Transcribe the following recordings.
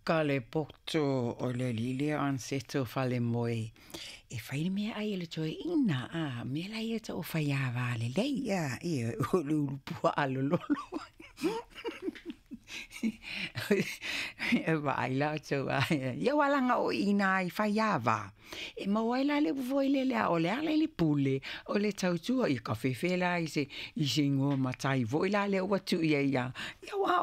Ka le poto o le alii lea o Aniceto Falemoe e fai le meaai a le toeaina, a, mea la ia e tau o faiava lelei, a, ioe, o le ulu puaa lololo. E vaai la outou a, ia aua leaga o i ina i faiava, e maua ai la le upu foi lele a o le ala i le pule, o le tautua, ia kafefe la i se igoa matai foi la lea ua tuu i ai ia, aua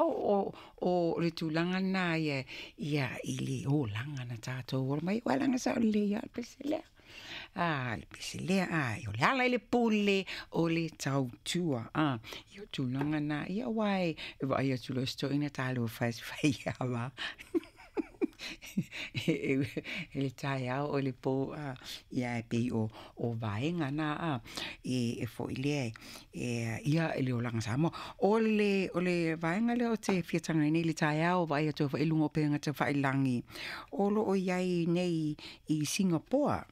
o le tulaga lena ia i le olaga na tatou ola mai ai, aua leaga e sao lelei lava le pese lea. A, le pese lea, o le ala i le pule o le tautua. Ia o le tulaga lena, ia aua e vaai atu loa i si toeaina talofa e se faiava i le taeao o le po, ia ae pei o vaega na e foi lea ia i le olaga Samoa. O le vaega lea ou te fia talanoaina nei i le taeao, vaai atu foi i luga o upega tafailagi, o lo o i ai nei i Sigapoa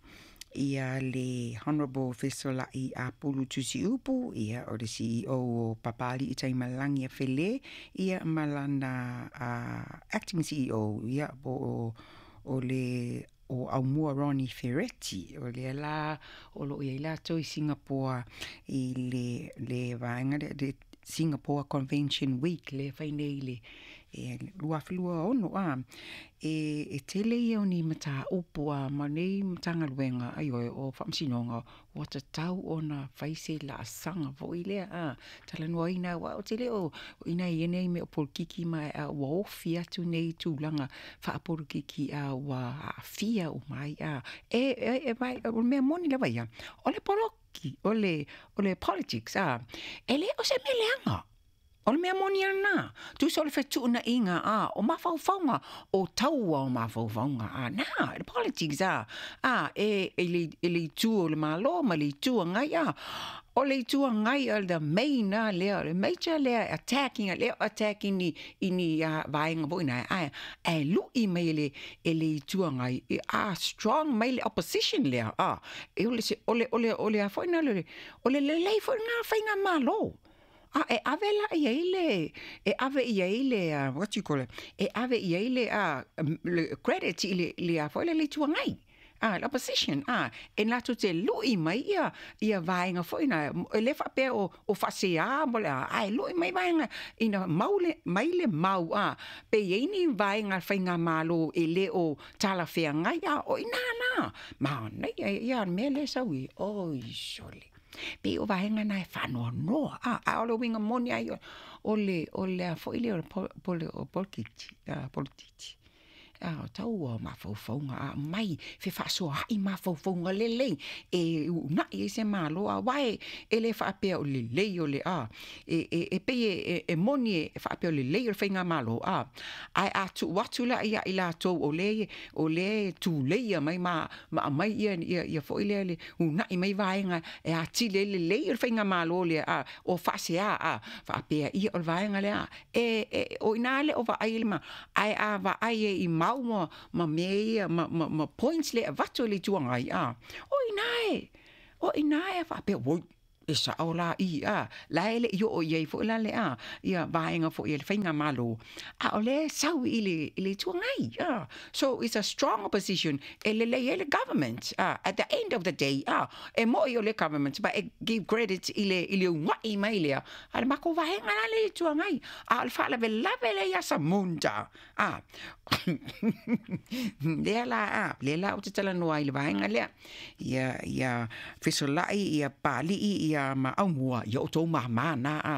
ia le Honourable Fesolai Apulu Tusiupu, ia o le CEO o Papalii Taimalagiafele, ia ma lana Acting CEO, ia po o le o Aumua Ronnie Ferretti, o lea la o lo o i ai latou i Sigapoa i le vaega lea, le Singapore Convention Week lea e fai nei i le 2026 a, e tele ia o ni mataupu a ma nei Matagaluega, ioe, o Faamasinoga, ua tatau ona fai se laasaga foi lea a, talanoaina aua ou te le o, ina ia nei mea o polokiki ma a ua ofi atu nei tulaga faapolokiki a ua aafia uma ai a. O le mea moni lava ia, o le poloki, o le politics a, e le o se mea leaga. O le mea moni lava lena, tusa o le fetuunaiga a, o mafaufauga, o taua o mafaufauga a, na, le politics a, a, e i le itu o le Malo ma le Itu Agai a, o le Itu Agai o le main lava lea, o le major lea e attacking, lea e attack i ni vaega foi na, ae lui mai e le Itu Agai, a strong mai le opposition lea, a, o le a foi lena, o le lelei foi lena faigamalo. A e ave la i ai le, e ave i ai le, what you call it, e ave i ai le credit i le a foi le Itu Agai, a, le opposition, a, e latou te lui mai ia vaega foi na, e le faapea o faasea mo le a, ae lui mai vaega ina mau mai le mau, a, pe i ai ni vaega faigamalo e le o talafeagai, a, o i ina la, manaia ia le mea lea e sau i, oi sole. Pei o vaega na e faanoanoa, a, a o le uiga moni ai o le a foi lea o le polokiki, a, o taua o mafaufauga, a aumai fefaasoaai mafaufauga lelei e uunai ai se Malo, aua e le faapea o lelei o le a, e pei e moni e faapea o lelei o le faigamalo, a, ae a tuu atu la ia i latou o lea e tuleia mai ma aumai ia foi lea le uunai mai vaega e atili ai lelei o le faigamalo lea, a, o faasea, a, faapea ia o le vaega lea, e o ina le o vaai le ma, ae a vaai e i mau ma mea ia, ma points lea e avatu e le Itu Agai, a, o ina e faapea, oi, e sao la i, a, la e le i oo i ai foi la le a, ia vaega foi e le faigamalo, a o lea e sau i le Itu Agai, a, so it's a strong opposition, e lelei ai le government, a, at the end of the day, a, e moi o le government, but e give credit i le uunai mai lea, a le makou vaega la le Itu Agai, a o le faalavelave lea ia Samunda, a, lea la, a, lea la ou te talanoa ai i le vaega lea, ia Fesolai, ia Papalii, ia ma Aumua, ia outou māmā na, a,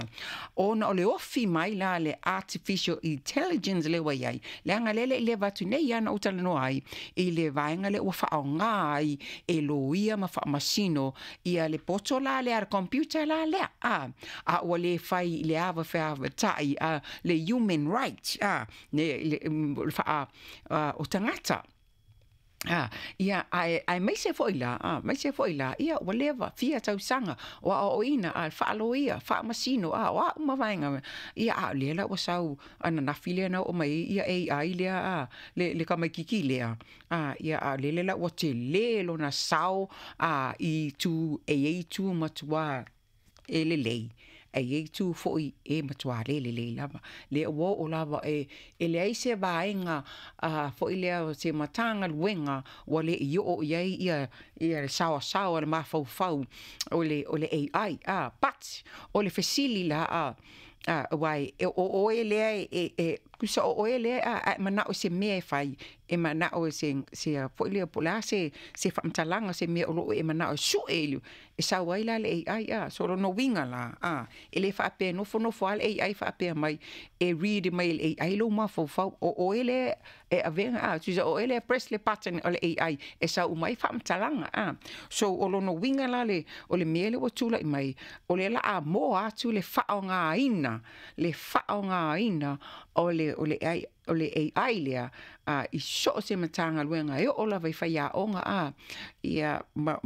ona o le ofi mai la le artificial intelligence lea ua i ai, leaga lea le i leva atu nei ia na ou talanoa ai i le vaega lea ua faaaoga ai e loia ma faamasino ia le poto la lea, le computer la lea, a, a ua le fai i le ava feavatai, a, le human right, a, le faa, o tagata. A, ia, ae maise foi la, a, maise foi la, ia, ua leva, fia tausaga, o aoaoina, a, faaloia, faamasino, a, o a uma vaega, ia, a, lea la ua sau ananafi lea na oo mai ai, ia, AI lea, a, le tamaitiiti lea, a, ia, a, lele la ua tele lona sao, a, i tu, e i ai tu matua e lelei. Ae i ai itu foi e matuā le lelei lava. Lea ua oo lava e leai se vaega foi lea o se Matagaluega ua le i oo i ai le saoasaoa le mafaufau o le AI. But o le fesili la, aua o oe lea e tusa o oe lea a e manao i se mea e fai, e manao i se foi lea po o le a se faamatalaga, se mea o lo o e manao e sue, e sau ai la le AI. So lona uiga la, e le faapea e nofonofo lava le AI faapea mai e read mai e le AI lou mafaufau. O oe lea e avega, tusa o oe lea e press le button o le AI e sau uma ai faamatalaga. So o lona uiga la o le mea lea ua tulai mai, o lea o le a moa atu le faaaogaina, le faaaogaina o le AI lea i so o se Matagaluega, e oo lava i faiaoga, ia, ma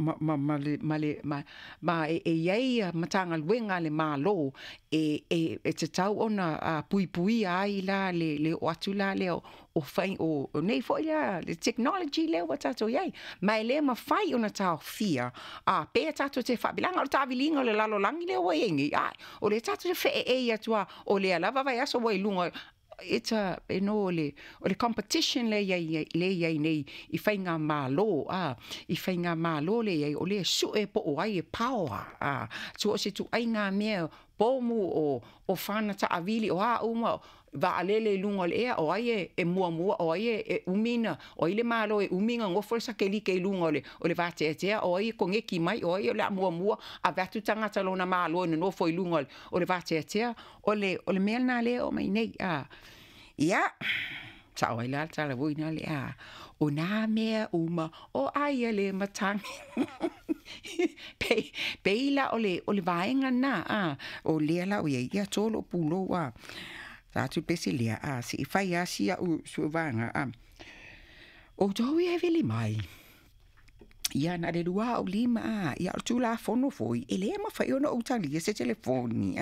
e i ai Matagaluega a le Malo e tatau ona puipuia ai la le oo atu la lea o fai o nei foi lea le technology lea ua tatou i ai. Ma e le mafai ona taofia pe tatou te faapilaga o le taaviliga o le lalolagi lea ua i ai nei, o lea tatou te feeei atu o lea lava vaiaso ua i luga. It's a, you know, o le competition le i ai nei i faigamalo, i faigamalo le i ai, o lea sue po o ai e power, so o se ituaiga mea pomu o fana taavili o a uma vaalele i luga o le ea, o ai e muamua, o ai e umi na, o ai le Malo e umi ona nofo le sakelike i luga o le vateatea, o ai e koneki mai, o ai o le a muamua ave atu tagata lona Malo e nonofo i luga o le vateatea. O le mea lena lea o mai nei. Ia, sao ai la le tala foi na le o nā mea uma o ai a le matagi. Pei la o le vaega na, o lea la o iai, ia tolo pulou sa atu pese lea, se i fai asi au suevaega, o tou ia e vili mai. Ia na le 25, ia o le Tulafono foi, e le mafai ona ou talia se telefoni,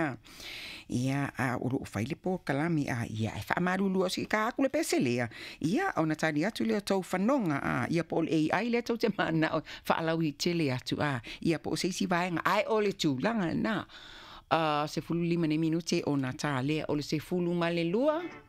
Ia, o loo fai le polokalame, ia e faamalulu o si ka aku le pese lea. Ia, ona tali atu lea tou fanoga, ia po o le AI lea tou te manao faalautele atu, ia po o se isi vaega, ae o le tulaga lena. 15 nei minute ona ta lea o le 12.